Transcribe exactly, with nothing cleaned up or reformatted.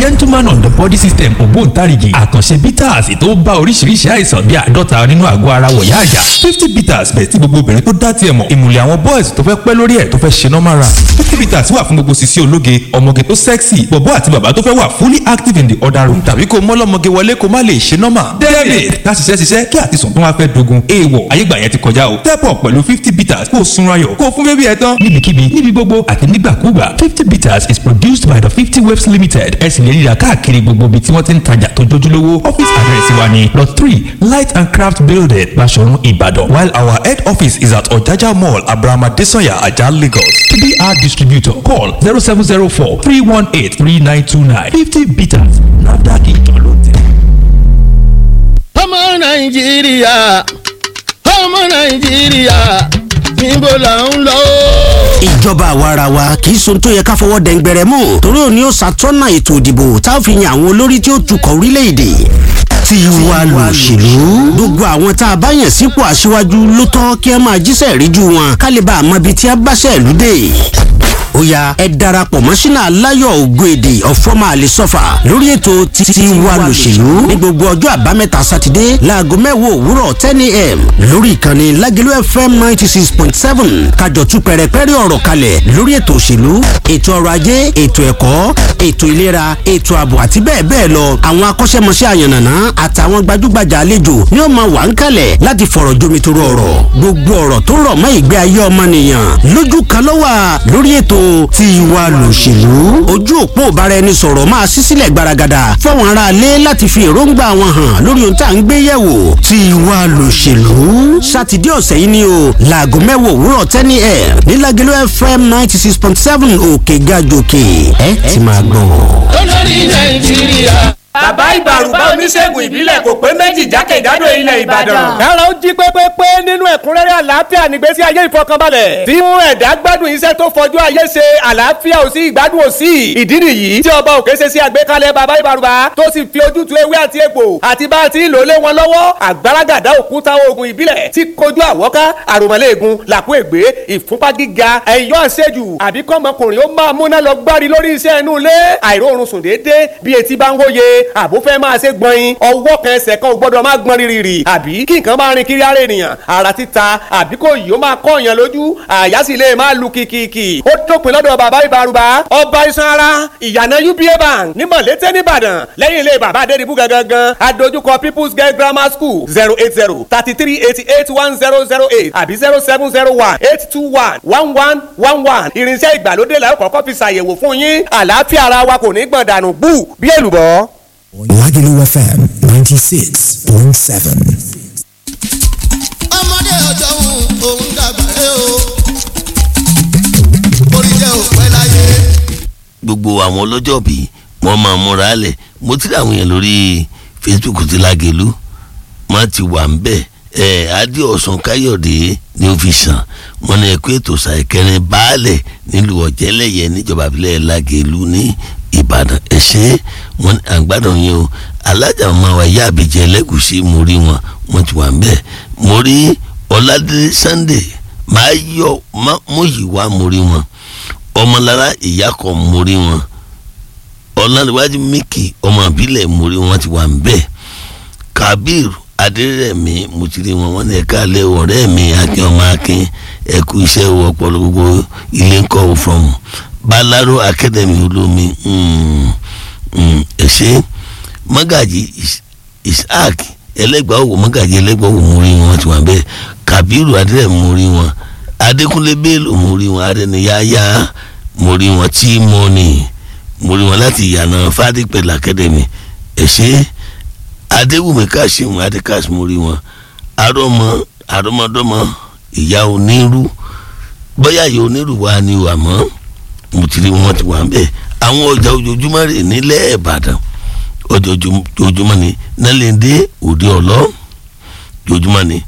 Gentleman on the body system ògbóǹtarìgì àkànṣe bitters tó bá oríṣiríṣi àìsàn bíi àádọ́ta nínú àgọ́ ara wọ̀yá àjà. Fifty bitters bẹ̀ tí gbogbo obìnrin tó dá tiẹ̀ mọ̀. Ìmùlẹ̀ àwọn boys tó fẹ́ pẹ́ lórí ẹ̀ tó fẹ́ ṣe normal run. Fifty bitters wà fún gbogbo sisi ológe, ọmọge tó sexy, bọ̀bọ́ àti bàbá tó fẹ́ wà fully active in the other room tàbí kó mọ́lọ́mọge wọlé kó má lè ṣe normal. David ká ṣiṣẹ́ ṣiṣẹ́ kí àti sùn tó wá fẹ́ dogun. Èèwọ̀ ayégbà yẹn ti kọjá o. Step up pẹ̀lú fifty bitters kó o sunra yọ̀ kó o fún bébí ẹ tán. Níbikíbi níbi gbogbo àti nígbàkúgbà fifty bitters is produced by the fifty waves limited. Ẹ sì lè ríra káàkiri gbogbo ibi tí wọ́n ti ń tajà tó jójúlówó. Office address wa ni Lot three Light and Craft Building, Baṣọ̀run, Ìbàdàn. While our head office is at Ọ̀jájá Mall, Abraham Adesanya, Ajah, Lagos. To be our distributor, call zero seven zero four three one eight three nine two nine. Fifty bitters, NAFDAC ìjọ ló tẹ̀. Ọmọ Nàìjíríà, ọmọ Nàìjíríà, níbo là ń lọ. Ìjọba àwarawa kì í sohun tó yẹ ká fọwọ́ dẹ̀ngbẹ̀rẹ̀ mú, torí òní ó ṣàtọ́nà ètò ìdìbò tá a fi yan àwọn olórí tí ó tukọ̀ orílẹ̀-èdè. Tiwa lòṣèlú. Gbogbo àwọn tá a bá yàn sípò aṣíwájú ló tọ́ kí ẹ máa jíṣẹ́ ìríjú wọn, ká lè bá a mọ ibi tí a bá ṣẹ̀lú dé. Ó yá, ẹ darapọ̀ mọ́ sínú aláyọ̀ ògo èdè ọ̀fọ́mà àlesọ́fà lórí ètò Tiwa lòṣèlú ní gbogbo ọjọ́ Àbámẹ́ta Sátidé láago mẹ́wàá òwúrọ̀ ten a m lórí ìkànnì Lágẹ̀lú F M ninety six point seven, kájọ tú pẹ̀rẹ̀pẹ̀rẹ̀ ọ̀rọ̀ kalẹ̀ lórí ètò òṣèlú, ètò ọrọ̀ ajé, ètò ẹ̀kọ́, ètò ìlera, ètò ààbò àti bẹ́ẹ̀ bẹ́ẹ̀ lọ. Àwọn akọ́ṣẹ́mọṣẹ́ àyànnàná àtàwọn gbajúgbajà àlejò ni ó máa wà ń kalẹ̀ láti fọ̀rọ̀ jomitoro ọ̀rọ̀. Gbogbo ọ̀rọ̀ tó rọ̀ mọ́ ìgbé ayé ọmọnìyàn lójú kan ló wà lórí ètò Tiwa lòṣèlú. Ojú òpó ìbáraẹnisọ̀rọ̀ máa ṣí sílẹ̀ gbaragada fáwọn aráalé láti fi èròǹgbà wọn hàn lórí ohun tá à ń gbé yẹ̀wò. Tiwa lòṣèlú, Sátidé ọ̀sẹ̀ yìí ni o, láago mẹ́wàá òwúrọ̀ ten a m ní Lágẹ̀lú F M ninety six point seven, òkè gàjòkè. Ẹ ti máa gbọ́. Olórí Nàìjíríà. Bàbá Ìbàrùbá, oníṣègùn ìbílẹ̀ kò pé méjì jákèjádò ilẹ̀ Ìbàdàn. Kára ó jí pépépé nínú ẹ̀kúnrẹ́rẹ́ àlàáfíà nígbésí ayé ìfọkànbalẹ̀. Tí mú ẹ̀dá gbádùn iṣẹ́ tó fọjú ayé ṣe, àlàáfíà ò sí, ìgbádùn ò sí. Ìdí nìyí tí Ọba Òkè ṣe sí àgbékalẹ̀ Bàbá Ìbàrùbá tó sì fi ojútùú ewé àti egbò àti bá a ti ń lò lé wọn lọ́wọ́. Àgbàràgàdá òkúta oògùn ìbílẹ̀ tí kojú àwọ́ká, àròmọ̀lẹ́ẹ̀gùn, làkú ègbé, ìfúnpá gíga, ẹ̀yọ́ àṣejù, àbí kọ́mọkùnrin ó máa múná lọ gbárí lórí iṣẹ́ inú ilé, àìróorun sùn déédéé bí etí bá ń wóye, àbó fẹ́ máa ṣe gbọ̀nyin, ọwọ́ kan ẹsẹ̀ kan ò gbọ́dọ̀ máa gbọ́n rírì, àbí kí nǹkan máa rin kiri ara ènìyàn, ara títa, àbí kò yìí ó máa kọ́ èèyàn lójú, àyà sì lè máa lu kìkìkì. Ó dópin lọ́dọ̀ Bàbá Ìbàrùbá, ọba iṣan ara, ìyànà U B A Bank ní Mọ̀lété nìbàdàn, lẹ́yìn ilé Bàbá Adédìbú gangan, adójúkọ People's Girl Grammar School. Zero eight zero thirty three eighty eight one zero zero eight àbí zero seven zero one eight two one one one one one. Irinṣẹ́ ìgbàlódé la ó kọ́kọ́ fi ṣàyẹ̀wò fún yín. Àlàáfíà ara wa kò ní gbọ̀n dànù bú bí èlùbọ́. Lagelu F M ninety-six point seven. Ọmọdé ọjọ́ òun òun dàgbà rẹ o, orí jẹ́ òpẹ́ láyé. Gbogbo àwọn ọlọ́jọ́ bí wọ́n máa múra lẹ̀. Mo ti rí àwọn èèyàn lórí Facebook ti Lágẹ̀lú, wọ́n ti wà ń bẹ̀. Ẹ̀ Adéọ̀sán Káyọ̀dé ni ó fi sàn wọ́n ní ẹ̀kú ètò ṣàìkẹrin baálẹ̀ nílùú Ọ̀jẹ́lẹ̀yẹ níjọba ìbílẹ̀ Lágẹ̀lú ní Ìbàdàn. Ẹ̀ ṣe wọ́n ní àgbàdàn yẹn o. Alájà ọmọ wa ìyá àbíjẹ ẹlẹ́gùsí, mo rí wọn, wọ́n ti wà ń bẹ̀. Mo rí Ọládélé Sunday máa yọ Múyìwá, mo rí wọn. Ọmọlára ìyá kan, mo rí wọn. Ọlárẹ̀wájú Mickey ọmọ ìbílẹ̀, mo rí wọn, ti wà ń bẹ̀. Kabir Adérẹ̀mí, mo ti rí wọn. Wọn ní ẹ̀ka alẹ́ ọ̀rẹ́ mi Akin ọmọ Akin, ẹ̀kú iṣẹ́ ọpọlọ, gbogbo ilé ń kọ́ from Balaro Academy olómi. Ẹ̀ṣẹ́ Mọ́gàjì Isaac ẹlẹ́gbàá òwò, Mọ́gàjì ẹlẹ́gbàá òwò, mo rí wọn, ti wà ń bẹ̀. Kabiru Adérẹ̀mí, mo rí wọn. Adékúnlé Bello, mo rí wọn. Adẹniyáyá, mo rí wọn. Tí mo ní mo rí wọn láti ìyànà Fadípẹ̀lú Academy. Ẹ̀ṣẹ́ Adéwùmí Kásímù Adékásí, mo rí wọn. Arọmọ àrọmọdọ́mọ ìyá onírú, bóyá ìyá onírú wa ni wà mọ́, mo ti rí wọn, ti wà ń bẹ̀. Àwọn ọjà ojoojúmọ́ rè nílẹ̀ Ìbàdàn, ọjà ojoojúmọ́ ni Nálẹ̀ndé òde ọ̀lọ́, ojoojúmọ́ ni.